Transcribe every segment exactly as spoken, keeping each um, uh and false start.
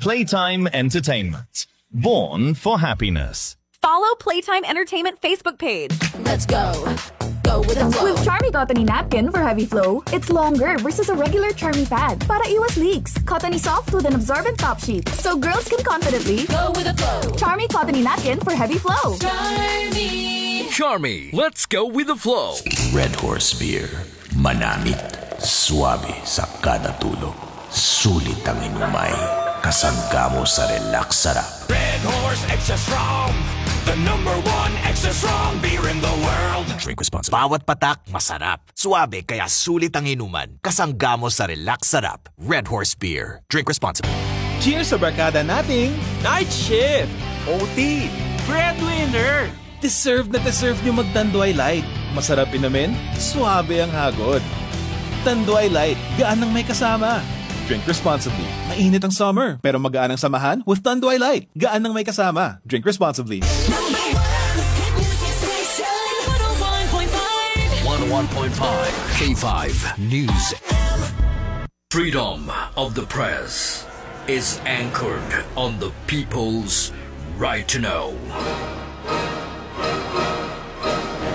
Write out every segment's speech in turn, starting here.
Playtime Entertainment. Born for happiness. Follow Playtime Entertainment Facebook page. Let's go. Go with the flow. With Charmy Cottony Napkin for heavy flow, it's longer versus a regular Charmy pad. Para iwas leaks, Cottony soft with an absorbent top sheet, so girls can confidently go with the flow. Charmy Cottony Napkin for heavy flow. Charmy. Charmy, let's go with the flow. Red Horse Beer. Manamit, suabe sa kada tulo. Sulit ang inumay, kasangga mo sa relax sarap. Red Horse Extra Strong, the number one extra strong beer in the world. Drink responsibly. Bawat patak, masarap. Suabe, kaya sulit ang inuman. Kasangga mo sa relax sarap. Red Horse Beer. Drink responsibly. Cheers sa barkada nating Night shift, O T, breadwinner. Deserve na deserve nyo mag Tanduay Light. Masarap inumin, suabe ang hagod. Tanduay Light, gaan ang may kasama. Drink responsibly. Mainit ang summer, pero magaan ang samahan with Tanduay Light. Gaan ang may kasama. Drink responsibly. Number one hit music station, one oh one point five. One oh one point five K five News. Freedom of the press is anchored on the people's right to know.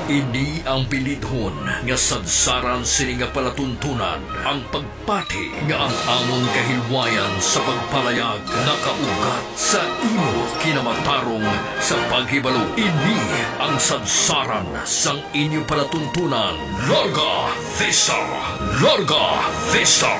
Ini ang bilidhon nga sadsaran sini nga palatuntunan, ang pagpati nga ang amon kahilwayan sa pagpalayag nakaugat sa imo kinamatarong sa paghibalo. Ini ang sadsaran sang inyo palatuntunan. Larga Vista! Larga Vista!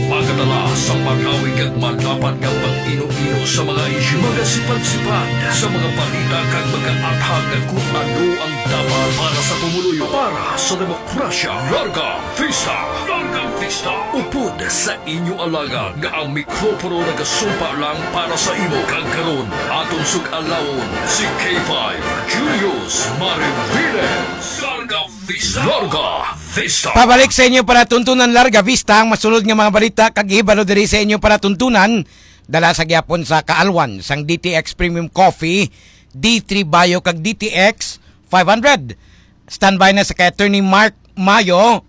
Magadala sa marawi kag malapad nga pag-ino-ino sa mga isyu, magasipad-sipad sa mga balita kag magaathag kung ano ang dapat para sa pumuluyo, para sa demokrasya. Larga Vista! Larga Vista! Upod sa inyo alagad nga ang mikropono nagasumpa lang para sa imo, kag karon aton sug-alawon si K five Julius Mariviles. Larga Vista! Larga Vista! Pabalik sa inyo palatuntunan, Larga Vista, ang masunod nga mga balita kag hibalo diri sa inyo palatuntunan. Dala sa gyapon sa kaalwan sang D T X Premium Coffee, D three Bio kag D T X five hundred. Standby na sa kay Attorney Mark Mayo.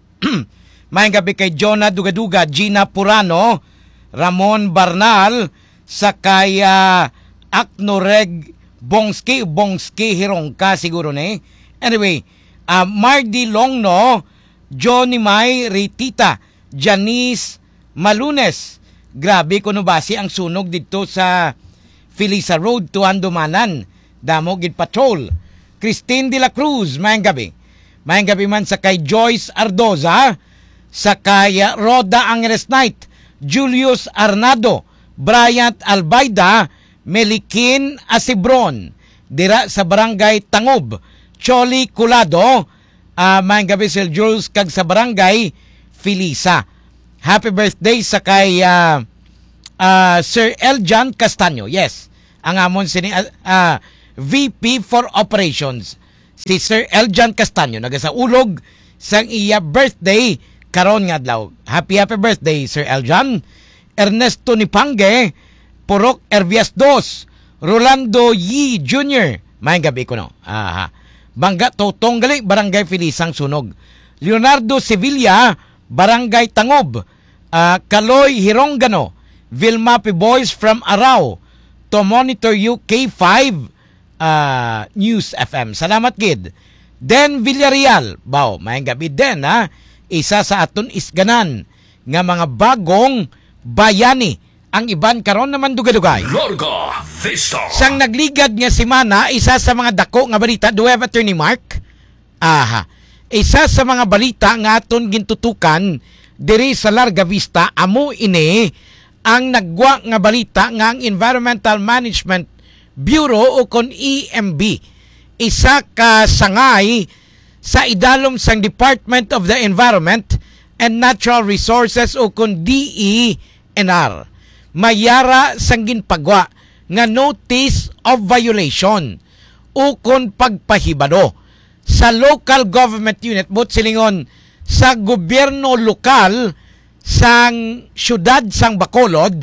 Maayong gabi kay Jonah Dugaduga, Gina Purano, Ramon Barnal, sa kay, ah, Aknoreg Bongski, Bongski Hirongka siguro ni. Anyway, ah, Mardi Longno, Johnny May Ritita, Janice Malunes. Grabe kuno basi ang sunog didto sa Felisa Road to Handumanan. Damo gid patrol. Christine de la Cruz, maayong gabi. Maayong gabi man sa kay Joyce Ardoza, sa kay, ah, Rhoda Angeles Knight, Julius Arnado, Bryant Albaida, Melikin Asibron, dira sa Barangay Tangob, Choli Colado, ah, maayong gabi, Sir Jules, kag sa Barangay Felisa. Happy birthday sa kay, ah, ah, Sir Eljan Castaño. Yes, ang amon sini, ah, ah, V P for Operations, si Sir Eljan Castaño, nagasaulog sang iya birthday karon nga adlaw. Happy, happy birthday, Sir Eljan. Ernesto Nipange, Purok Ervias Dos, Rolando Yi Junior, maayong gabi kuno. Aha. Bangga Totong gali, Barangay Felisa ang sunog. Leonardo Sevilla, Barangay Tangob, ah, Kaloy Hirongano, Vilma Piboys from Arao, to monitor you, K five, ah, News F M. Salamat gid. Den Villarreal, baw, maayong gabi, Den, ha? Isa sa aton isganan nga mga bagong bayani ang iban karon naman dugay-dugay. Larga Vista. Sang nagligad nga semana, isa sa mga dako nga balita, do we have Attorney Mark? Aha. Isa sa mga balita nga aton gintutukan diri sa Larga Vista, amo ini ang naggwa nga balita nga ang Environmental Management Bureau, o kon E M B, isa ka sangay sa idalom sang Department of the Environment and Natural Resources, o kon D E N R, may yara sang ginpagwa nga notice of violation, o kon pagpahibalo sa local government unit, buot silingon, sa gobyerno lokal sang siyudad sang Bacolod,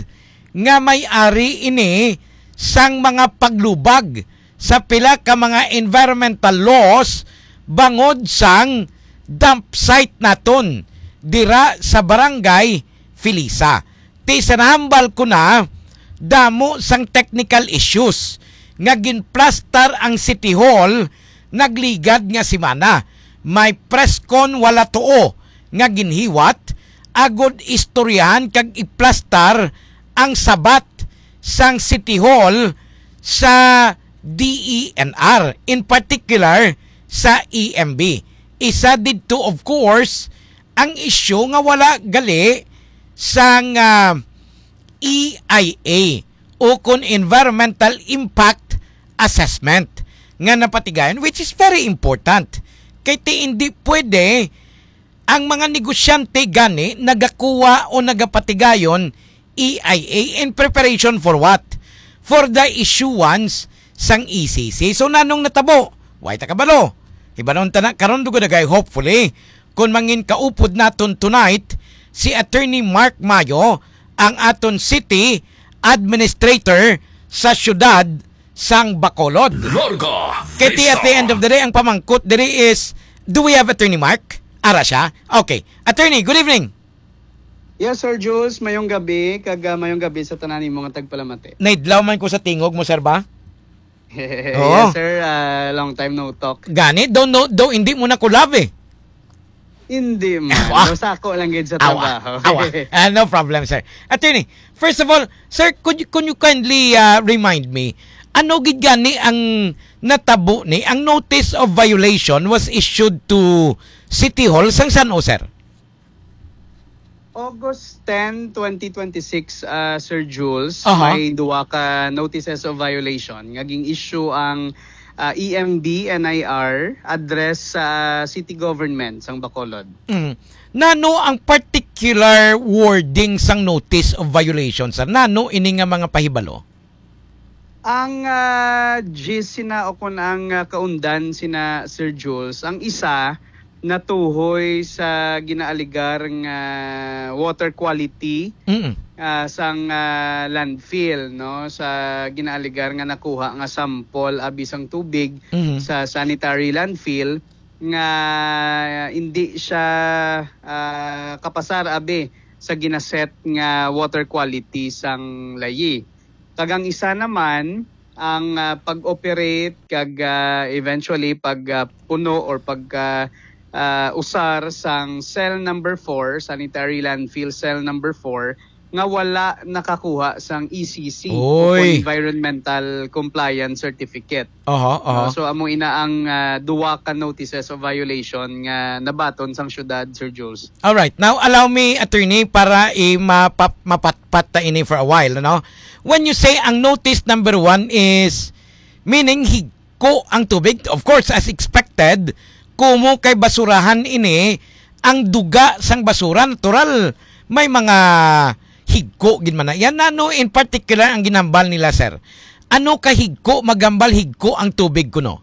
nga may ari ini sang mga paglubag sa pila ka mga environmental laws bangod sang dump site naton dira sa Barangay Felisa. Ti sa nahambal ko na, damo sang technical issues nga ginplastar ang City Hall nagligad nga semana. May press con wala tuo nga ginhiwat agod istoryahan kag iplastar ang sabat sang City Hall sa D E N R, in particular sa E M B. Isa didto, of course, ang isyu nga wala gali sang, ah, E I A o kon environmental impact assessment nga napatigayon, which is very important. Kay ti hindi pwede ang mga negosyante gani nagakuha o nagapatigayon E I A in preparation for what? For the issuance sang E C C. So, nanong natabo? Way ta kabalo. Hibanon ta na karon, dugay-dugay, hopefully, kung mangin kaupod naton tonight si Attorney Mark Mayo, ang aton city administrator sa siyudad sang Bacolod. Larga Kay ti, at the end of the day, ang pamangkot diri is, do we have Attorney Mark? Ara siya? Okay. Attorney, good evening. Yes, Sir Jules, mayong gabi, kag, ah, mayong gabi sa tanan nimo nga tagpalamati. Naidlaw man ko sa tingog mo, sir, ba? Oo. Yes, sir, ah, long time no talk. Gani, daw, no, daw, hindi mo na ko love eh. Hindi man. Awa. Daw sako lang gid sa Awa. trabaho. Awa. Ah, no problem, sir. Attorney, first of all, sir, could you, could you kindly, ah, remind me, ano gid gani ang natabo ni, ang notice of violation was issued to City Hall sang san-o, sir? August ten, twenty twenty-six, ah, Sir Jules, Aha. may duwa ka notices of violation nga ging-issue ang, ah, E M B N I R address sa city government sang Bacolod. Mm. Nano ang particular wording sang notice of violation, sir? Nano ini nga mga pahibalo? Ang, ah, gist sina o kon ang, ah, kaundan sina Sir Jules, ang isa natuhoy sa ginaaligar nga water quality, Mm. ah, sang, ah, landfill, no, sa ginaaligar nga nakuha nga sample abi sang tubig Mhm. sa sanitary landfill nga hindi siya, ah, kapasar abi sa ginaset nga water quality sang layi. Kag ang isa naman, ang, ah, pag-operate kag, ah, eventually pag, ah, puno or pag, ah, ah, usar sang cell number four, sanitary landfill cell number four, nga wala nakakuha sang E C C o Oy. environmental compliance certificate. Aha, aha. No? So, amo ina ang, ah, duwa ka notices of violation nga nabaton sang syudad, Sir Jules. All right. Now, allow me, attorney, para i-, mapap-, mapatpat ta ini for a while, no? When you say ang notice number one is, meaning higko ang tubig, of course, as expected, kumo kay basurahan ini, ang duga sang basura, natural, may mga higko gid man na. Yan, ano in particular ang ginambal nila, sir? Ano ka higko, magambal higko ang tubig kuno?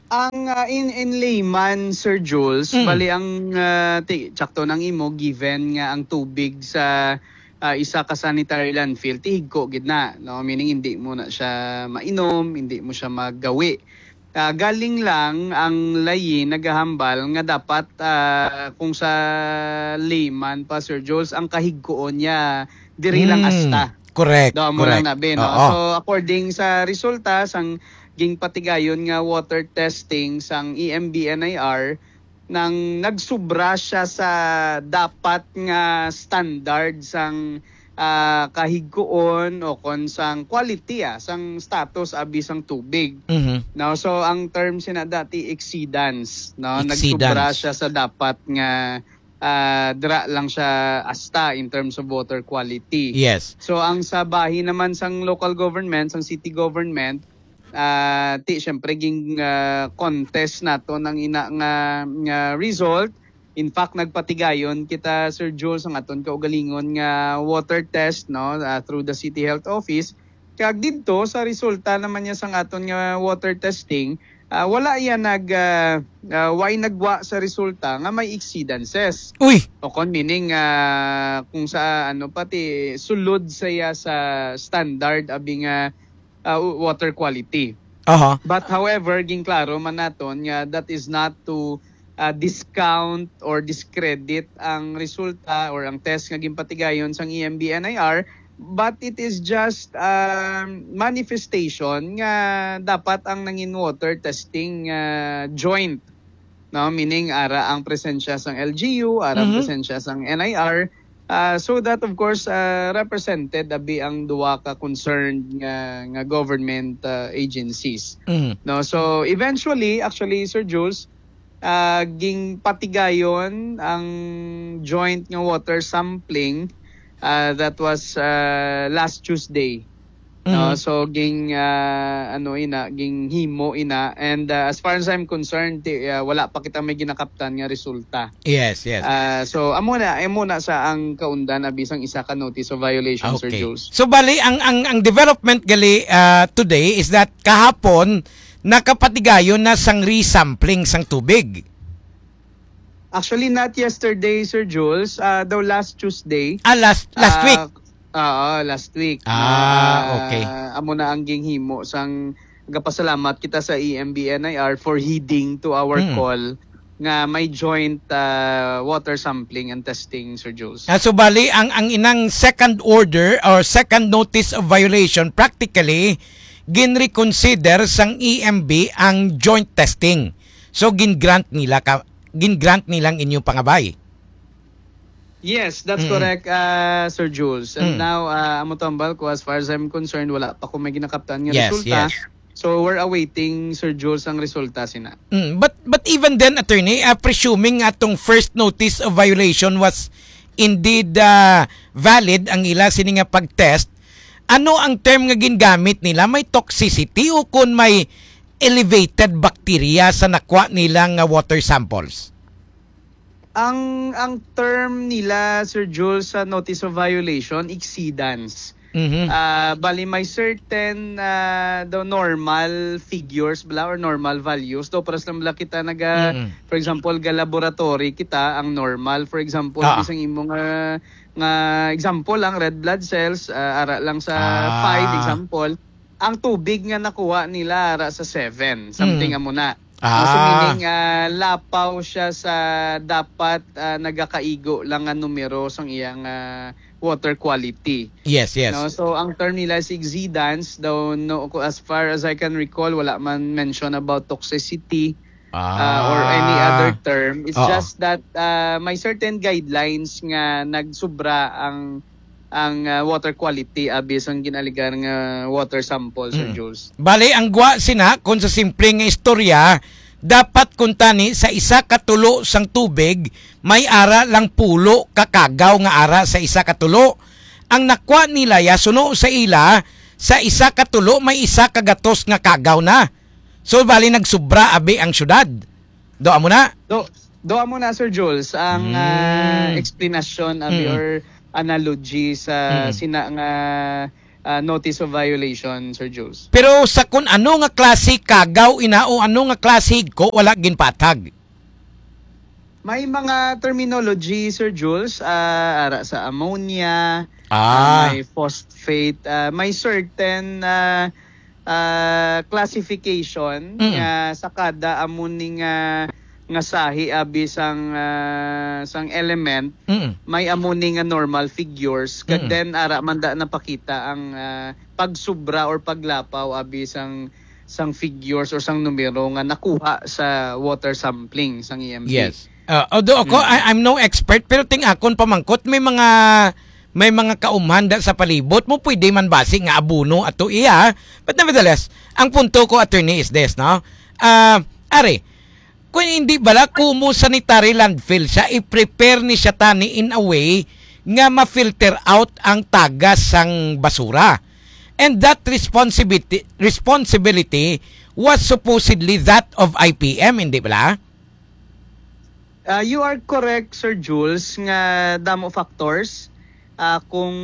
Ang, ah, in, in layman, Sir Jules, Mm. bali ang, ah, ti-, tsakto nang imo, given nga ang tubig sa, ah, isa ka sanitary landfill, tihigko gid na, no? Meaning, hindi mo na siya mainom, hindi mo siya magawi. Ah, galing lang ang layi nagahambal nga dapat, ah, kung sa layman pa, Sir Jules, ang kahigkoon niya, diri lang Mm. asta. Correct, Daw mo lang correct. na, be, no? Oo. So, according sa resulta sang ginpatigayon nga water testing sang E M B N I R, nang nagsubra siya sa dapat nga standard sang, ah, kahigkoon o kon sang quality, ah, sang status abi sang tubig. Mhm. No? So, ang term sina dati, exceedance, no? Nagsubra Exceedance. siya sa dapat nga, ah, dira lang siya asta in terms of water quality. Yes. So, ang sa bahin naman sang local government, sang city government, ah, ti, syempre, ging, ah, contest nato ang ina nga, nga result. In fact, nagpatigayon kita, Sir Jules, ang aton kaugalingon nga water test, no, ah, through the City Health Office. Kag didto, sa resulta naman niya sang aton nga water testing, ah, wala iya nag, ah, ah, way nagwa sa resulta nga may exceedances. Uy! O kon meaning, ah, kung sa ano, pati sulod sa iya sa standard abi nga, ah, water quality. Aha. But however, ginklaro man naton nga that is not to ah, discount or discredit ang resulta or ang test nga ginpatigayon sang E M B N I R, but it is just, um, manifestation nga dapat ang nangin water testing, ah, joint, no? Meaning, ara ang presensya sang L G U, ara ang Mhm. presensya sang N I R, ah, so that, of course, ah, represented abi ang duha ka concerned nga, nga government, ah, agencies. Mhm. No? So, eventually, actually, Sir Jules, ah, ginpatigayon ang joint nga water sampling, ah, that was, ah, last Tuesday. No? Mm. So, ging, ah, ano ina, ging himo ina. And, ah, as far as I'm concerned, ti-, ah, wala pa kita may ginakaptan nga resulta. Yes, yes. Ah, so, amo na, amo na sa ang kaundan abi sang isa ka notice of violation, Sir Okay. Jules. So, bali, ang, ang, ang development gali, ah, today is that kahapon, nakapatigayon na sang resampling sang tubig. Actually, not yesterday, Sir Jules. Ah, daw last Tuesday. Ah, last, last Ah, week? Oo, last week. Ah, Ah, okay. amo na ang ginhimo sang gapasalamat kita sa E M B N I R for heeding to our Mm. call nga may joint, ah, water sampling and testing, Sir Jules. Ah, so bali, ang, ang inang second order or second notice of violation, practically, ginreconsider sang E M B ang joint testing. So, gin-grant nila ka, gin-grant nila ang inyong pangabay. Yes, that's Mm-mm. correct, ah, Sir Jules. And Mm. now, ah, amo tambal ko, as far as I'm concerned, wala pa ko may ginakaptan nga Yes, resulta. yes. So, we're awaiting, Sir Jules, ang resulta sina. Mm, but, but even then, attorney, ah, presuming atong first notice of violation was indeed, ah, valid ang ila sini nga pag-test, ano ang term nga gingamit nila? May toxicity o kun may elevated bacteria sa nakuha nila nga water samples? Ang, ang term nila, Sir Jules, sa notice of violation, exceedance. Mhm. Ah, bali, may certain, ah, daw normal figures bala or normal values. Daw paras lang bala kita naga, Mm-mm. for example, ga laboratory kita, ang normal, for example, Ah. isang imo nga, nga example lang, red blood cells, ah, ara lang sa Ah. five, example, ang tubig nga nakuha nila ara sa seven, something Mm. amo na. Ah. So, meaning, ah, lapaw siya sa dapat, ah, nagakaigo lang nga numero sang iyang, ah, water quality. Yes, yes. No? So, ang term nila is exceedance. Daw, no, ko-, as far as I can recall, wala man mention about toxicity, ah, or any Ah. other term. It's Oo. just that, ah, may certain guidelines nga nagsubra ang, ang, ah, water quality, abi sang ginaligar nga water sample, Sir Mm. Jules. Bale, ang gwa sina, kung sa simple nga istorya, dapat kuntani sa isa ka tulo sang tubig, may ara lang pulo ka kagaw nga ara sa isa ka tulo. Ang nakwa nila ya suno sa ila, sa isa ka tulo may isa ka gatos nga kagaw na. So, bali nagsubra abi ang syudad. Do amo na? Do, do amo na, Sir Jules, ang, Mm. ah, explanation abi Mm. or analogy sa Mm. sina nga, ah, notice of violation, Sir Jules. Pero sa kun ano nga klase kagaw ina o ano nga klase higko, wala ginpatag? May mga terminology, Sir Jules, ah, ara sa ammonia, Ah. ah, may phosphate, ah, may certain, ah, ah, classification Mm. nga sa kada amo ni nga, nga sahi abi sang, ah, sang element, Mm. may amo ni nga normal figures, kag Mm. then ara man da napakita ang, ah, pagsubra or paglapaw abi sang, sang figures or sang numero nga nakuha sa water sampling sang E M B. Yes. Ah, although ako, Mm. I, I'm no expert, pero ting akon pamangkot, may mga, may mga kaumhan da sa palibot mo, pwede man basi nga abono ato iya. But nevertheless, ang punto ko, attorney, is this, no? Ah, are, kung hindi bala, kumo sanitary landfill siya, i-prepare ni siya tani in a way nga ma-filter out ang tagas sang basura. And that responsibility, responsibility was supposedly that of I P M, hindi bala? Ah, you are correct, Sir Jules, nga damo factors. Ah, kung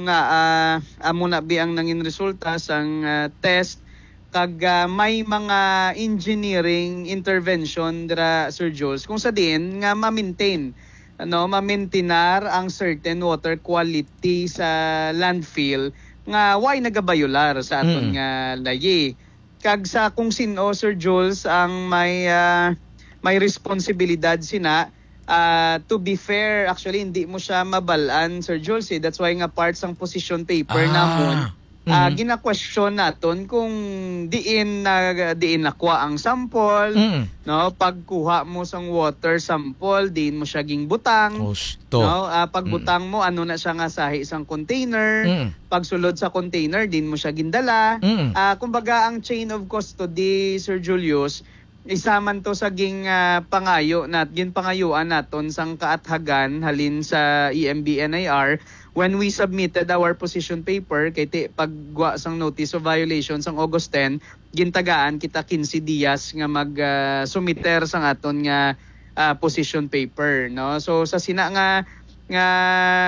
nga, ah, amo na bi ang nangin resulta sang, ah, test, kag, ah, may mga engineering intervention dira, Sir Jules, kung sa diin nga ma-maintain, ano, ma-maintinar ang certain water quality sa landfill nga way nagabayular sa aton Mm. nga layi. Kag sa kung sin-o, Sir Jules, ang may, ah, may responsibilidad sina. Ah, to be fair, actually, hindi mo siya mabalaan, Sir Jules, eh. That's why nga part sang position paper Ah. namon, ah, Mhm. gina-question naton kung diin na, diin nakuha ang sample, Mm. no? Pagkuha mo sang water sample, diin mo siya ginbutang, Husto. no? Ah, pagbutang Mm. mo, ano na siya nga sahi sang container. Mm. Pagsulod sa container, diin mo siya gindala. Mm. Ah, kumbaga, ang chain of custody, Sir Julius, isa man to sa ging, ah, pangayo nat-, ginpangayuan naton sang kaathagan halin sa E M B N I R when we submitted our position paper kay ti-, paggwa sang notice of violation sang August ten, gintagaan kita quince dias nga mag, ah, sumiter sang aton nga, ah, position paper, no? So, sa sina nga, nga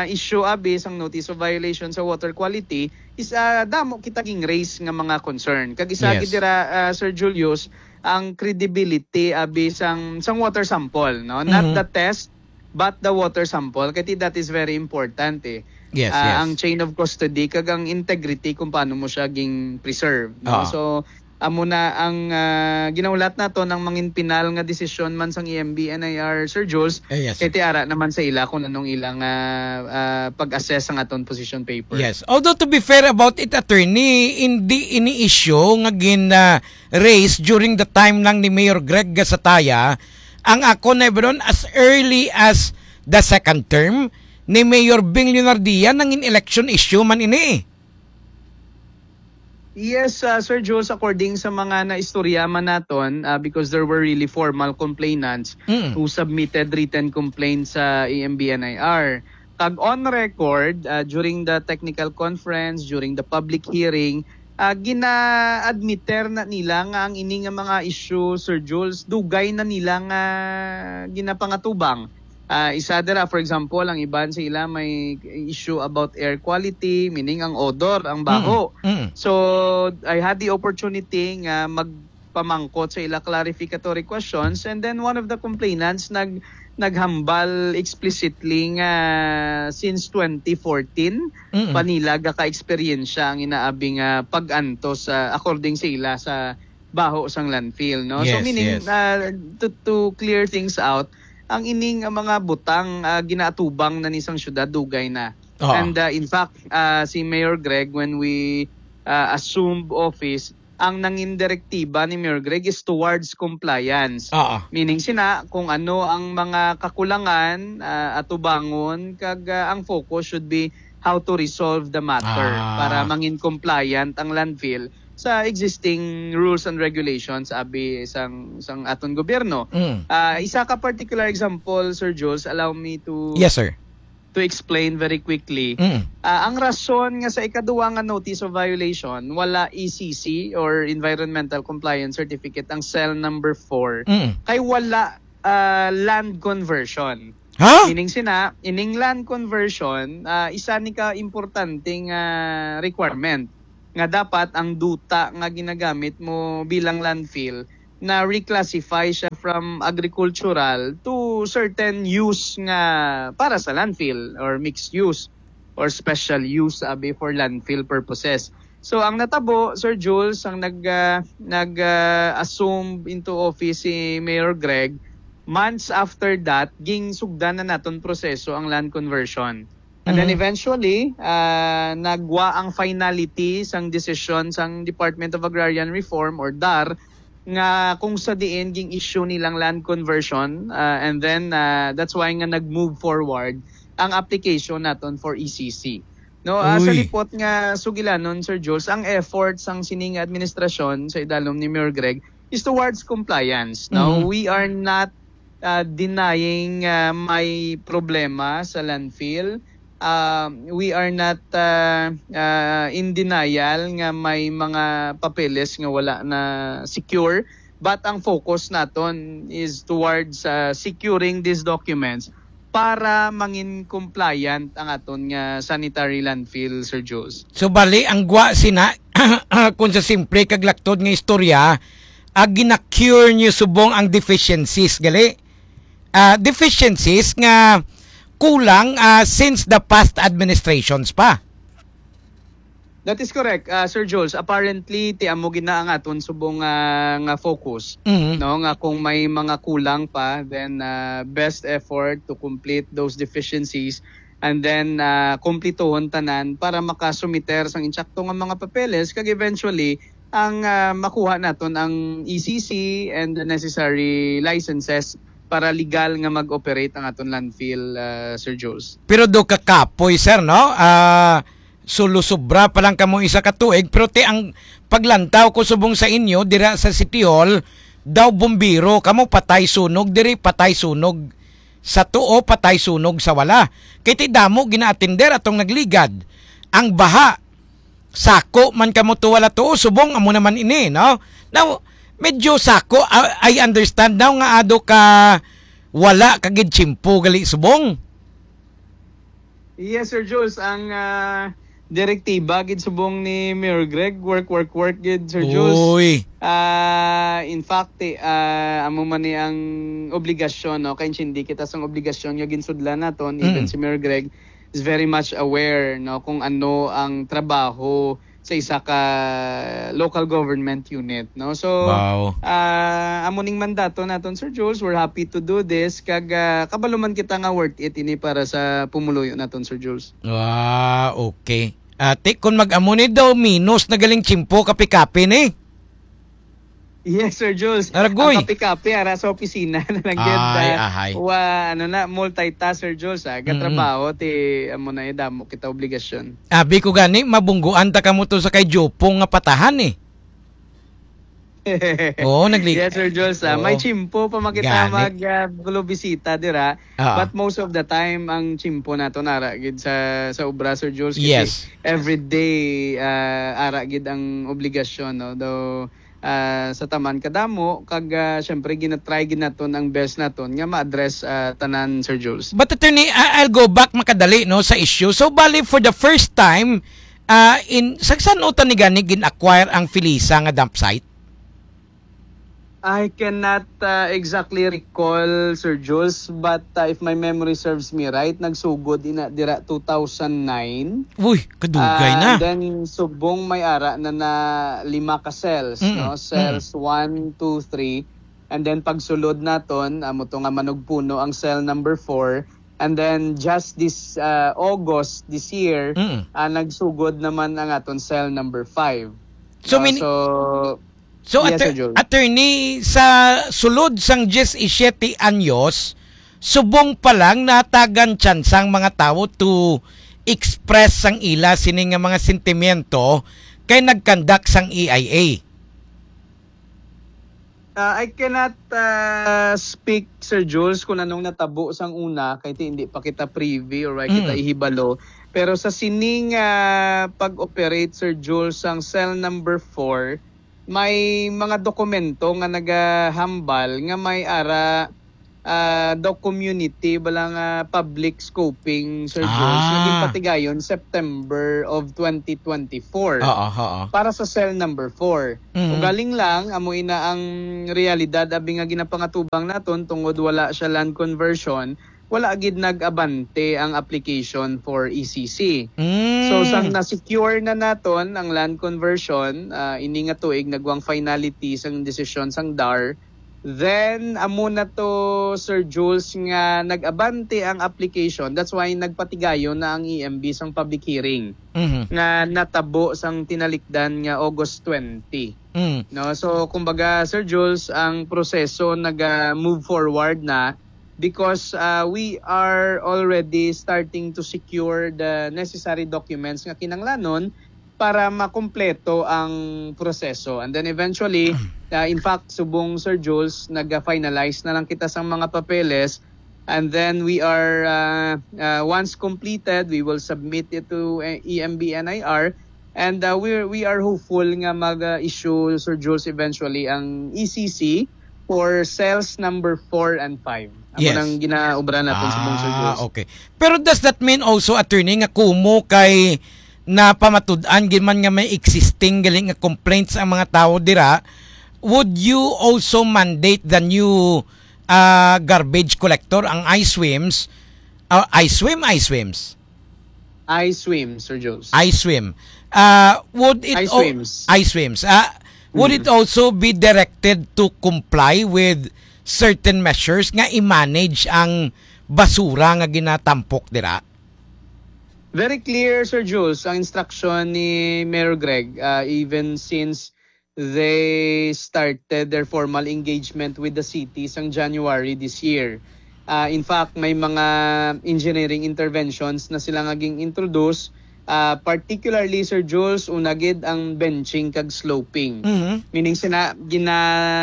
issue abi sang notice of violation sa water quality is, ah, damo kita ging raise nga mga concern. Kag isa Yes. gid dira, ah, Sir Julius, ang credibility abi sang, sang water sample, no? Not Mhm. the test, but the water sample. Kay that is very important, eh. Yes, Ah, yes. ang chain of custody kag ang integrity kung paano mo siya ging preserve, no? Ah. So, amo na ang, ah, ginahulat naton ang mangin pinal nga desisyon man sang E M B N I R, Sir Jules. Eh, yes, Kay sir. ti ara naman sa ila kung anong ilang, ah, ah, pag-assess sang aton position paper. Yes. Although, to be fair about it, attorney, hindi ini issue nga gin, ah, raise during the time lang ni Mayor Greg Gasataya. Ang ako na ibron, as early as the second term ni Mayor Bing Leonardia, nangin election issue man ini. Yes, ah, Sir Jules, according sa mga naistorya man naton, ah, because there were really formal complainants Mm. who submitted written complaints sa E M B N I R. Kag on record, ah, during the technical conference, during the public hearing, ah, gina-admiter na nila nga ang ini nga mga issue, Sir Jules, dugay na nila nga ginapangatubang. Ah, isa dira, for example, ang iban sa ila may issue about air quality, meaning ang odor, ang baho. Mm, mm. So, I had the opportunity nga magpamangkot sa ila clarificatory questions, and then one of the complainants nag-, naghambal explicitly nga since twenty fourteen Mm. pa nila gaka-eksperyensya ang inaabi nga pag-antos, ah, according sa ila, sa baho sang landfill, no? So, Yes, meaning, yes. ah, to, to clear things out, ang ining, ah, mga butang, ah, ginaatubang na ni sang syudad, dugay na. Oo. And, ah, in fact, ah, si Mayor Greg, when we, ah, assumed office, ang nangin direktiba ni Mayor Greg is towards compliance. Oo. Meaning sina, kung ano ang mga kakulangan, ah, atubangon, kag, ah, ang focus should be how to resolve the matter Ah. para mangin compliant ang landfill sa existing rules and regulations abi sang, sang aton gobyerno. Mm. Ah, isa ka particular example, Sir Jules, allow me to Yes, sir. to explain very quickly. Mm. Ah, ang rason nga sa ikaduwa nga notice of violation, wala E C C or Environmental Compliance Certificate ang cell number four, Mm. kay wala, ah, land conversion. Ha? Meaning sina, ining land conversion, ah, isa ni ka importante nga requirement nga dapat ang duta nga ginagamit mo bilang landfill na reclassify siya from agricultural to certain use nga para sa landfill or mixed use or special use, abi, for landfill purposes. So, ang natabo, Sir Jules, ang nag, ah, nag, ah, assume into office si Mayor Greg, months after that, ginsugdan na naton proseso ang land conversion. And then Mhm. eventually, ah, nagwa ang finality sang desisyon sang Department of Agrarian Reform or DAR nga kung sa diin ging-issue nilang land conversion, ah, and then, ah, that's why nga nag-move forward ang application naton for E C C. No, ah, sa Uy. lipot nga sugilanon, Sir Jules, ang effort sang sining administrasyon sa idalom ni Mayor Greg is towards compliance. No, Mhm. we are not, ah, denying, ah, may problema sa landfill. Ah, we are not, ah, ah, in denial nga may mga papeles nga wala na secure. But ang focus naton is towards, ah, securing these documents para mangin compliant ang aton nga sanitary landfill, Sir Jules. So, bali, ang gwa sina, kung sa simple kag laktod nga istorya, ah, gina-cure niyo subong ang deficiencies, gali? Ah, deficiencies nga kulang, ah, since the past administrations pa. That is correct, ah, Sir Jules. Apparently, ti amo gid na ang aton subong, ah, nga focus, Mhm. no, nga kung may mga kulang pa, then, ah, best effort to complete those deficiencies, and then, ah, kumplituhon tanan para makasumiter sang insakto nga mga papeles, kag eventually ang, ah, makuha naton ang E C C and the necessary licenses para legal nga mag-operate ang aton landfill, ah, Sir Jules. Pero do kakapoy, sir, no? Ah, sulo-sobra pa lang kamo isa ka tuig, pero ti ang paglantaw ko subong sa inyo dira sa City Hall, daw bumbiro kamo, patay sunog diri, patay sunog sa tuo, patay sunog sa wala. Kay ti damo ginaatender atong nagligad. Ang baha, sako man kamo to wala tuo, subong amo naman ini, no? Now, medyo sako, ah, I understand now nga ado ka wala ka gid tiyempo gali subong. Yes, Sir Jules, ang, ah, direktiba gid subong ni Mayor Greg, work, work, work gid, Sir Jules. Uy. Ah, in fact, eh, ah, amo man ni ang obligasyon, no? Kay hindi kita sang obligasyon nga ginsudlan naton, even Mm. si Mayor Greg is very much aware, no, kung ano ang trabaho sa isa ka local government unit, no? So, Wow. ah, amo ning mandato naton, Sir Jules. We're happy to do this. Kag, ah, kabalo man kita nga worth it ini para sa pumuluyo naton, Sir Jules. Ah, okay. Ate, kung mag-amo ni daw, minus na galing tiyempo, kapi-kapi ni. Yes, Sir Jules. Aragoy. Ang kapi-kapi, ara sa opisina na lang gyud, Ay, ah, ahay. wa-, ano na, multitask, Sir Jules, ah. Mm-mm. Gatrabaho, ti, amo na, eh, damo kita obligasyon. Abi ko gani, mabungguan ta kamo to sa kay Jopong nga patahan, eh. Oo, nagli- Yes, Sir Jules, ah. May Oo. tiyempo pa makita Gani. mag, ah, gulo bisita dira. Ah. But most of the time, ang tiyempo nato nara gid sa, sa obra, Sir Jules, kasi Yes. every day, ah, ara gid ang obligasyon, no? Though, ah, sa taman kadamo, kag, ah, syempre, ginatry gid naton ang best naton nga ma-address, ah, tanan, Sir Jules. But, Attorney, I-, I'll go back makadali, no, sa issue. So, bali, for the first time, ah, in, sa, saan utan ni gani gin-acquire ang Felisa nga dump site? I cannot, ah, exactly recall, Sir Jules, but, ah, if my memory serves me right, nagsugod ina dira two thousand nine. Uy, kadugay Ah, na. Then, subong may ara na na lima ka cells, Mm, no? mm. Cells one, two, three. And then, pagsulod naton, amo to nga manugpuno ang cell number four. And then, just this, ah, August this year, Mm. ah, nagsugod naman ang aton cell number five. So, No? mini-, So, So, Yes, atter-, Sir Joel. Attorney, sa sulod sang diyesisiete anyos, subong pa lang natagan tsansa ang mga tawo to express sang ila sini nga mga sentimiento kay nag-conduct sang E I A. Ah, I cannot, ah, speak, Sir Jules, kung anong natabo sang una, kay ti hindi pa kita privy or wala kita Mm. ihibalo. Pero sa sining, ah, pag-operate, Sir Jules, sang cell number four, may mga dokumento nga nagahambal nga may ara, ah, daw community, bala nga public scoping, Sir Jules, nga Ah. ginpatigayon September of twenty twenty-four Oo, oo. para sa cell number four. Mhm. Ugaling lang, amo ina ang realidad, abi nga ginapangatubang naton, tungod wala siya land conversion, wala gid nag-abante ang application for E C C. Mm. So, sang na-secure na naton ang land conversion, ah, ini nga tuig nagwang finality sang desisyon sang DAR, then amo na to, Sir Jules, nga nag-abante ang application. That's why nagpatigayon na ang E M B sang public hearing Mhm. nga natabo sang tinalikdan nga August twenty. Mm. No? So, kumbaga, Sir Jules, ang proseso naga-move forward na because, ah, we are already starting to secure the necessary documents nga kinanglanon para makumpleto ang proseso. And then eventually, ah, in fact, subong, Sir Jules, nag-finalize na lang kita sa mga papeles. And then we are, ah, ah, once completed, we will submit it to, eh, E M B N I R. And, ah, we, we are hopeful nga mag, ah, issue, Sir Jules, eventually ang E C C for cells number four and five. Amo Yes. nang ginaobra naton sa buong, Sir Ah, Jules. Okay. Pero does that mean also, attorney, nga kumo kay napamatud-an gid man nga may existing gali nga complaints ang mga tawo dira, would you also mandate the new, ah, garbage collector, ang I swims? Ah, I swim, I swims? I swim, Sir Jules. I swim. Uh, would it I al- swims. I swims. Uh, would it Mm. also be directed to comply with certain measures nga i-manage ang basura nga ginatampok dira? Very clear, Sir Jules, ang instruction ni Mayor Greg, uh, even since they started their formal engagement with the city sang January this year. Uh, in fact, may mga engineering interventions na sila nga ging-introduce, uh, particularly, Sir Jules, una gid ang benching kag sloping. Mhm. Meaning sina gina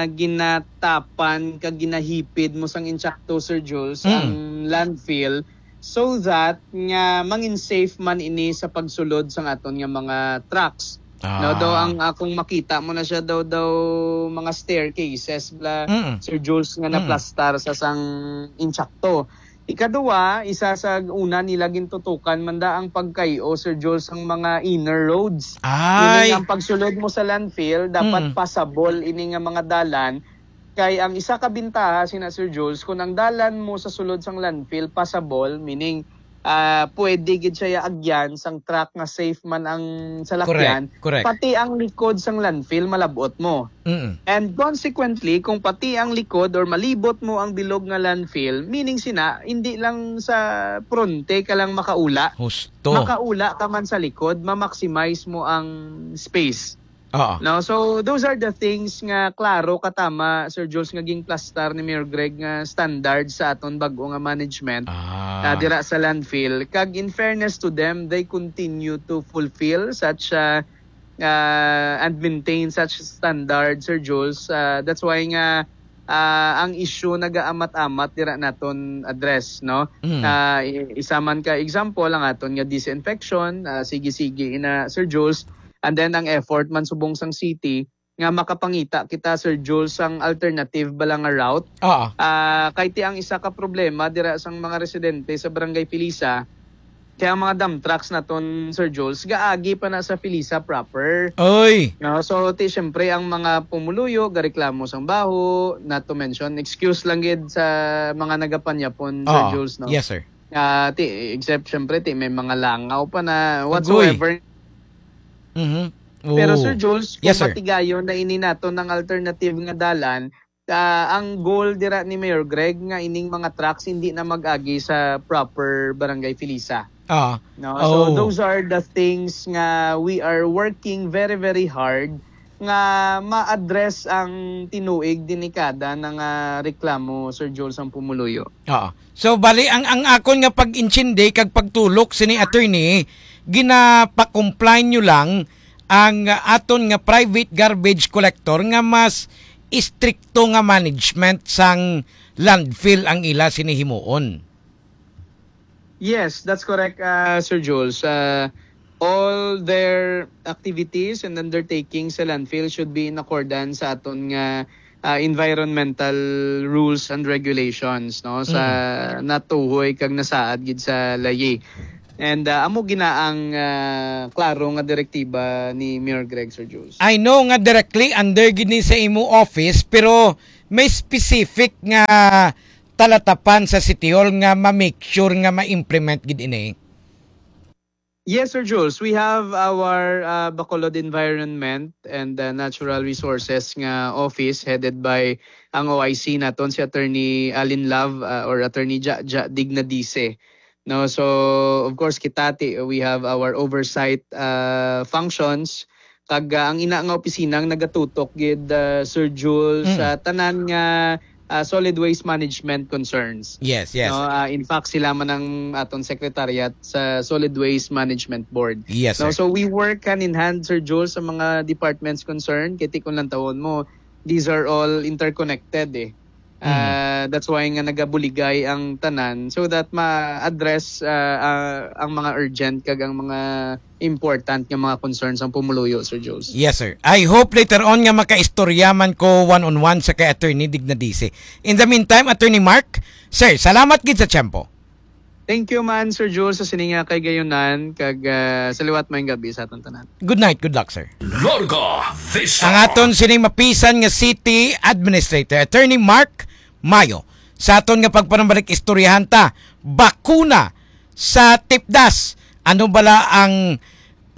ginatapan kag ginahipid mo sang intsakto, Sir Jules, Mm. ang landfill so that nga mangin safe man ini sa pagsulod sang aton nga mga trucks. No, daw Ah. ang akong makita mo na siya daw, daw mga staircases bla, Mm. Sir Jules, nga Mm. naplastar sa sang intsakto. Ikaduwa, isa sa una nila gintutukan man da ang pagkay-o, Sir Jules, ang mga inner roads. Meaning, Ay. ang pagsulod mo sa landfill, dapat Mm. passable ini nga mga dalan. Kay ang isa ka bintaha sina Sir Jules, kung ang dalan mo sa sulod sang landfill passable, meaning, ah, pwede gid siya agyan sang truck nga safe man ang salakyan, Correct, correct. pati ang likod sang landfill malab-ot mo. Mm. And consequently, kung pati ang likod or malibot mo ang bilog nga landfill, meaning sina, hindi lang sa pronte ka lang makaula, Husto. makaula ka man sa likod, ma-maximize mo ang space. Oo. No? So, those are the things nga klaro katama, Sir Jules, nga ginplastar ni Mayor Greg nga standard sa aton bag-o nga management, Ah. ah, dira sa landfill. Kag in fairness to them, they continue to fulfill such, ah, ah, and maintain such standard, Sir Jules. Ah, that's why nga, ah, ang issue nagaamat-amat dira naton address, no? Mm. Ah, i-, isa man ka example ang aton nga disinfection, ah, sige-sige ina, Sir Jules. And then ang effort man subong sang city nga makapangita kita, Sir Jules, sang alternative bala nga route. Oo. Ah, kay ti ang isa ka problema dira sang mga residente sa Barangay Felisa, kaya ang mga dump trucks naton, Sir Jules, gaagi pa na sa Felisa proper. Oy! No, so, ti, syempre, ang mga pumuluyo, gareklamo sang baho, not to mention, excuse lang gid sa mga nagapanyapon, Sir Oo. Jules, no? Yes, sir. Ah, ti, except, syempre, ti, may mga langaw pa na Agoy. whatsoever. Mhm. Pero, Oh. Sir Jules, kung Yes, sir. matigayon na ini naton ang alternative nga dalan, ah, ang goal dira ni Mayor Greg nga ining mga trucks hindi na mag-agi sa proper Barangay Felisa. Ah. No? So, Oh. those are the things nga we are working very, very hard nga ma-address ang tinuig, delikada na nga reklamo, Sir Jules, ang pumuluyo. Oo. So, bali, ang, ang akon nga pag-intindi kag pagtulok sini, attorney, ginapa-comply nyo lang ang, ah, aton nga private garbage collector nga mas istrikto nga management sang landfill ang ila sini himuon. Yes, that's correct, uh, Sir Jules. Uh, all their activities and undertakings sa landfill should be in accordance sa aton nga, uh, environmental rules and regulations, no, sa Mm. natuhoy kag nasaad gid sa layi. And, uh, amo gina ang, uh, klaro nga direktiba ni Mayor Greg, Sir Jules. I know nga directly under gid ni sa imo office, pero may specific nga talatapan sa City Hall nga ma-make sure nga ma-implement gid ini? Yes, Sir Jules. We have our, uh, Bacolod Environment and, uh, Natural Resources nga office headed by ang O I C naton, si Attorney Alin Love, uh, or Attorney Ja, Ja Dignadise. No, so, of course, kita ti, we have our oversight, uh, functions. Kag, ah, ang ina nga opisina ang nagatutok gid, ah, Sir Jules, Mm. sa tanan nga, ah, solid waste management concerns. Yes, yes. No, ah, in fact, sila man ang aton secretariat sa Solid Waste Management Board. Yes, No, sir. so we work hand in hand, Sir Jules, sa mga departments concerned. Kay ti kung lantawon mo, these are all interconnected eh. Mm. Ah, that's why nga nagabuligay ang tanan so that ma-address, ah, ah, ang mga urgent kag ang mga important nga mga concerns ang pumuluyo, Sir Jules. Yes, sir. I hope later on nga makaistorya man ko one-on-one sa kay Attorney Dignadise. In the meantime, Attorney Mark, sir, salamat gid sa tiyempo. Thank you man, Sir Jules, sa sini nga kahigayonan, kag, ah, sa liwat, maayong gabi sa aton tanan. Good night, good luck, sir. Larga Vista. Ang aton sining mapisan nga City Administrator, Attorney Mark Mayo. Sa aton nga pagpanumbalik, istoryahan ta, bakuna sa tipdas. Ano bala ang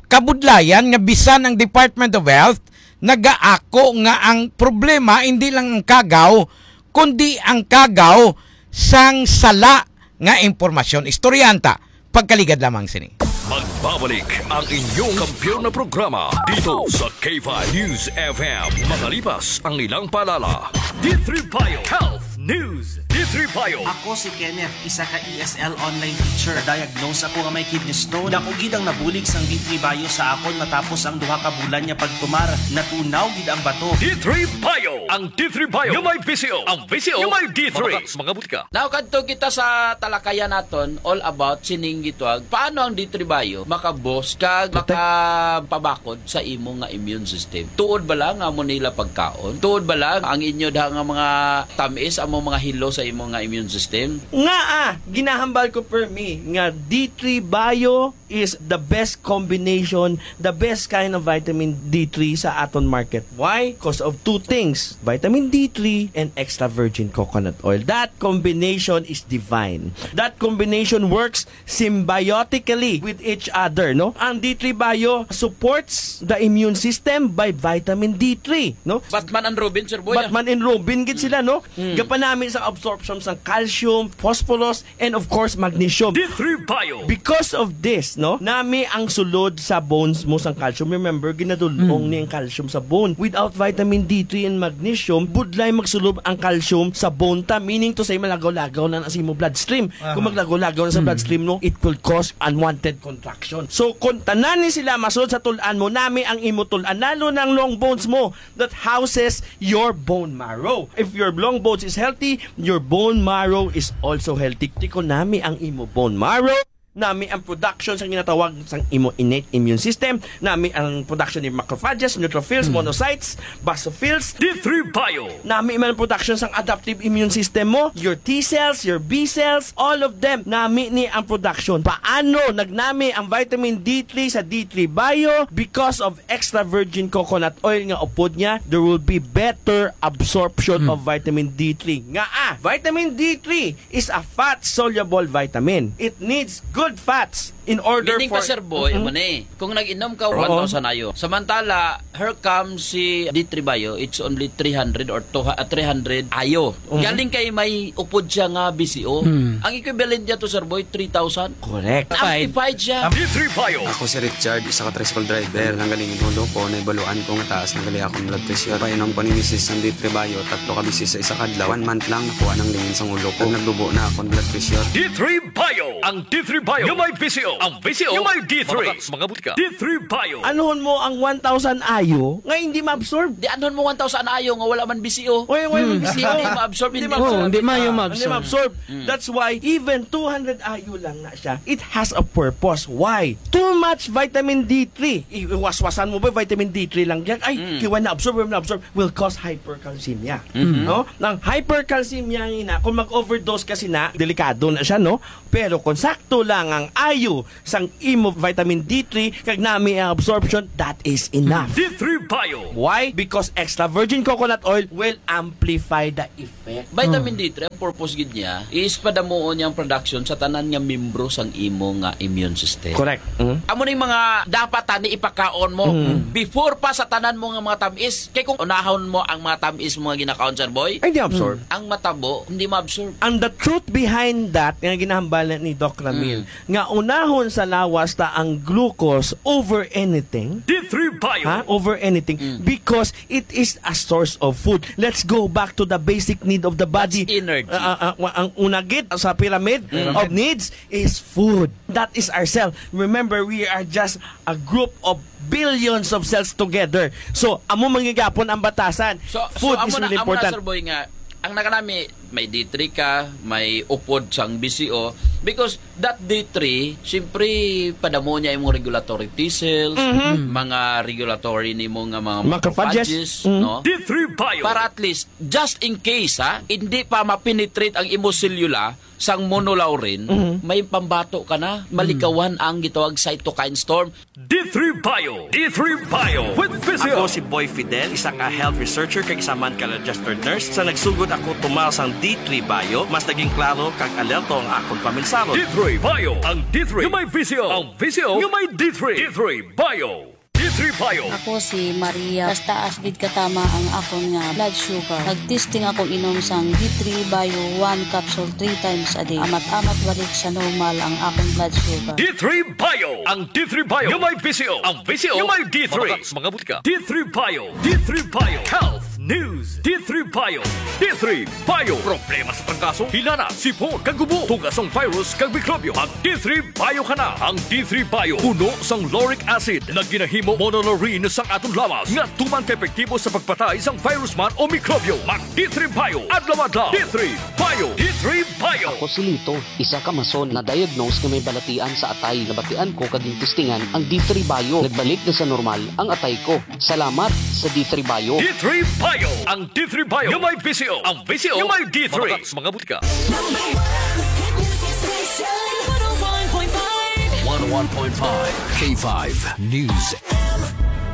kabudlayan nga bisan ang Department of Health nagaako nga ang problema hindi lang ang kagaw, kundi ang kagaw sang sala nga impormasyon? Istoryanta, pagkaligad lamang sini. Magbabalik ang inyong kampiyon na programa dito sa K five News F M. Makalipas ang ilang paalala. D three Bio Health News. D three Bio. Ako si Kenneth, isa ka E S L online teacher. Na-diagnose ako nga may kidney stone. Dako gid ang nabulig sang D three Bio sa akon matapos ang duha ka bulan nga pagtumar. Natunaw gid ang bato. D three Bio. Ang D three Bio nga may V C O. Ang V C O nga may D three. Mga butika. Now, kadto kita sa talakayan naton, all about sining gitawag, paano ang D three Bio makaboost kag makapabakod sa imo nga immune system? Tuod ba lang nga amo nila pagkaon? Tuod ba lang ang inyo da nga mga tamis amo mga hilo sa imo nga immune system? Nga, ah, ginahambal ko, permi, nga D three Bio is the best combination, the best kind of vitamin D three sa aton market. Why? Because of two things, vitamin D three and extra virgin coconut oil. That combination is divine. That combination works symbiotically with each other, no? Ang D three Bio supports the immune system by vitamin D three, no? Batman and Robin, Sir Boy, ah. Batman and Robin gid sila, no? Mm. Gapanami sa absorption sang calcium, phosphorus, and of course, magnesium. D three Bio. Because of this, no, nami ang sulod sa bones mo sang calcium. Remember, ginadul-ong Mm. ni ang calcium sa bone. Without vitamin D three and magnesium, budlay magsulod ang calcium sa bone ta, meaning to say, malagaw-lagaw na na sa imo bloodstream. Kung Aha. maglagaw-lagaw na sa Mm. bloodstream, no, it will cause unwanted contraction. So, kung tanan ni sila masulod sa tul-an mo, nami ang imo tul-an, lalo na ang long bones mo that houses your bone marrow. If your long bones is healthy, your bone marrow is also healthy. Tiko, nami ang imo bone marrow, nami ang production sang ginatawag sang imo innate immune system, nami ang production ni macrophages, neutrophils, Hmm. monocytes, basophils. D three Bio. Nami man ang production sang adaptive immune system mo, your T cells, your B cells, all of them, nami ni ang production. Paano nagnami ang vitamin D three sa D three Bio? Because of extra virgin coconut oil nga upod niya, there will be better absorption Mm. of vitamin D three. Nga, ah, vitamin D three is a fat-soluble vitamin. It needs good fats in order Meaning for ka, Sir Boy, Mm-mm. amo ni, kung nag-inom ka Oo. one thousand ayo, samantala, here comes si D three Bio, it's only three hundred or two, ah, three hundred ayo. Mhm. Galing kay may upod siya nga B C O. Hmm. Ang equivalent niya to, Sir Boy, three thousand. Correct. Amplified siya. D three Bio. Ako si Richard, isa ka tricycle driver. Nanggaling ang ulo ko, naibaluan ko nga taas na gali akong blood pressure. Painom ko ni misis sang D three Bio, tatlo ka bisis sa isa ka adlaw. One month lang, nakuha nang lingin sang ulo ko. Nagdubo na akong blood pressure. D three Bio. Ang D three Bio. Nga may V C O. Ang V C O. Nga may D three. Mga, mga butika. D three Bio. Anuhon mo ang one thousand ayo nga hindi ma-absorb? Di anuhon mo one thousand ayo nga wala man V C O? Oy, oy, Hmm. V C O. Hindi ma-absorb, Hindi hindi ma-absorb. Oo, hindi maayo Hindi ma-absorb. ma-absorb. Mm. That's why even two hundred ayo lang na siya, it has a purpose. Why? Too much vitamin D three. Iwaswasan mo ba vitamin D three lang yan? Ay, Mm. kiwan na absorb, na absorb, will cause hypercalcemia. Mm-hmm. No? Ang hypercalcemia nga ina, kung mag-overdose kasi na, delikado na siya, no? Pero kung sakto lang ang ayo sang imo vitamin D three, kag nami ang absorption, that is enough. D three Bio. Why? Because extra virgin coconut oil will amplify the effect. Vitamin Mm. D three, ang purpose gid niya is padamuon niya ang production sa tanan nga membro sang imo nga immune system. Correct. Mm. Amo ning mga dapat tani ipakaon mo Mm. before pa sa tanan mo nga mga tamis. Kay kung unahon mo ang mga tamis mo nga ginakaon, Sir Boy, Ay, di absorb. ang matabo, hindi ma-absorb. And the truth behind that, nga ginahambal ni Doc Ramil, Mm. nga unahon sa lawas ta ang glucose over anything. D three Bio. Ha? Over anything. Mm. Because it is a source of food. Let's go back to the basic need of the body. That's energy. Ah, ah, ah, wa-, ang una gid sa pyramid Mm. of needs is food. That is our cell. Remember, we are just a group of billions of cells together. So, amo man gyapon ang batasan. So, so, Food amo is na, really amo na, important. Sir Boy, nga, ang nakanami, may D three ka, may upod sang B C O, because that D three, siyempre, padamo niya imong regulatory T cells, Mhm. mga regulatory nimo nga mga Macrophages. macrophages, Mhm. no? D three Bio. Para at least, just in case, ha, hindi pa ma-penetrate ang imo selula sang monolaurin, Mhm. may pambato ka na, malikawan ang gitawag cytokine storm. D three Bio. D three Bio with Physio. Ako si Boy Fidel, isa ka health researcher kag isa man ka registered nurse. Sa nagsugod ako tumal sang D three Bio, mas naging klaro kag alerto ang akon paminsaro. D three. Bio, ang D three nga may visyo. Ang visyo nga may D three. D three Bio. D three Bio. Ako si Maria. Mas taas gid katama ang akon nga blood sugar. Nag-testing ako inom sang D three Bio, one capsule three times a day. Amat-amat balik sa normal ang akon blood sugar. D three Bio. Ang D three Bio nga may visyo. Ang visyo nga may D three. Mabakal sa mga butika. D three Bio. D three Bio. Health News. D three Bio. D three Bio. Problema sa trangkaso, hilana, sipon, kag ubo. Tuga sang virus kag mikrobyo. Mag D three Bio ka na. Ang D three Bio puno sang lauric acid nga ginahimo monolaurin sang aton lawas nga tuman ka epektibo sa pagpatay sang virus man o mikrobyo. Mag D three Bio adlaw-adlaw. D three Bio. D three Bio. Ako si Lito, isa ka mason na diagnose nga may balatian sa atay. Nabatian ko kag gintistingan ang D three Bio. Nagbalik na sa normal ang atay ko. Salamat sa D three Bio. D three Bio. Ang D three Bio nga may visyo. Ang visyo nga may D three. Mabakal sa mga butika. Number one hit music station, one oh one point five. One oh one point five K five News.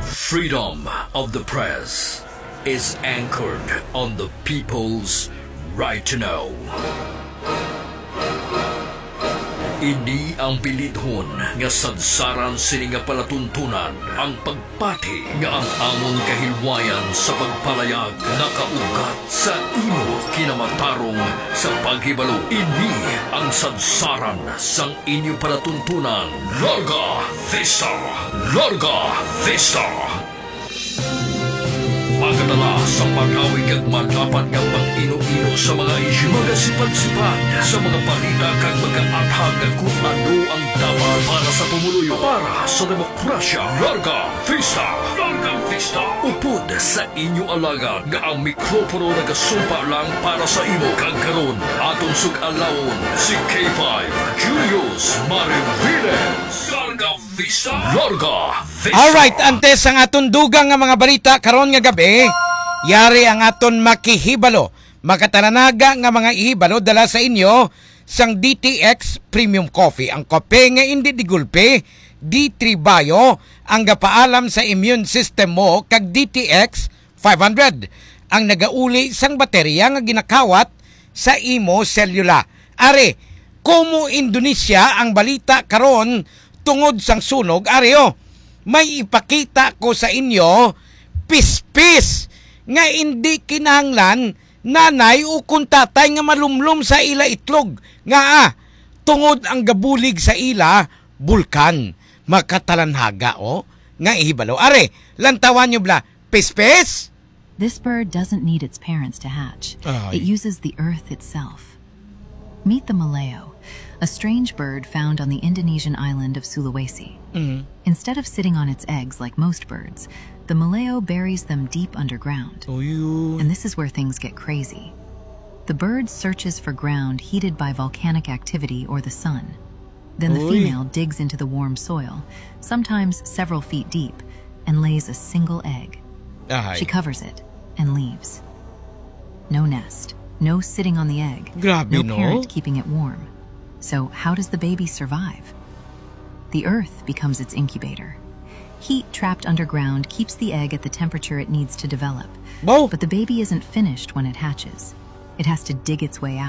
Freedom of the press is anchored on the people's right to know. Ini ang bilidhon nga sadsaran sini nga palatuntunan, ang pagpati nga ang amon kahilwayan sa pagpalayag nakaugat sa imo kinamatarong sa paghibalo. Ini ang sadsaran sang inyo palatuntunan. Larga Vista! Larga Vista! Magadala sa pag-awig kag madapat nga pag-ino-ino sa mga isyu, magasipad-sipad sa mga balita kag magaathag kung ano ang dapat para sa pumuluyo, para sa demokrasya. Larga Vista! Larga Vista! Upod sa inyo alagad nga ang mikropono nagasumpa lang para sa imo. Kag karon, aton sug-alawon si K five Julius Mariviles. Larga Vista! Larga Vista! Alright, antes ang aton dugang nga mga balita karon nga gabi, yari ang aton makihibalo, makatalanaga nga mga ihibalo dala sa inyo sang D T X Premium Coffee, ang kape nga indi di gulpi. D three Bio ang gapaalam sa immune system mo, kag D T X five hundred ang nagauli sang baterya nga ginakawat sa imo selula. Ari, Kumu Indonesia ang balita karon tungod sang sunog. Ari, oh, may ipakita ko sa inyo, pispis nga indi kinahanglan nanay o kon tatay nga malumlom sa ila itlog. Ngaa? Tungod ang gabulig sa ila bulkan. Makatalanhaga, oh, nga ihibalo. Ari, lantawan nyo bala. Pispis! This bird doesn't need its parents to hatch. Ay. It uses the earth itself. Meet the maleo, a strange bird found on the Indonesian island of Sulawesi. Mm. Instead of sitting on its eggs like most birds, the maleo buries them deep underground. Uy. And this is where things get crazy. The bird searches for ground heated by volcanic activity or the sun. Then the Uy. female digs into the warm soil, sometimes several feet deep, and lays a single egg. Ahay. She covers it and leaves. No nest, no sitting on the egg, Grabe, no no? parent keeping it warm. So how does the baby survive? The earth becomes its incubator. Heat trapped underground keeps the egg at the temperature it needs to develop. Bo! But the baby isn't finished when it hatches. It has to dig its way out.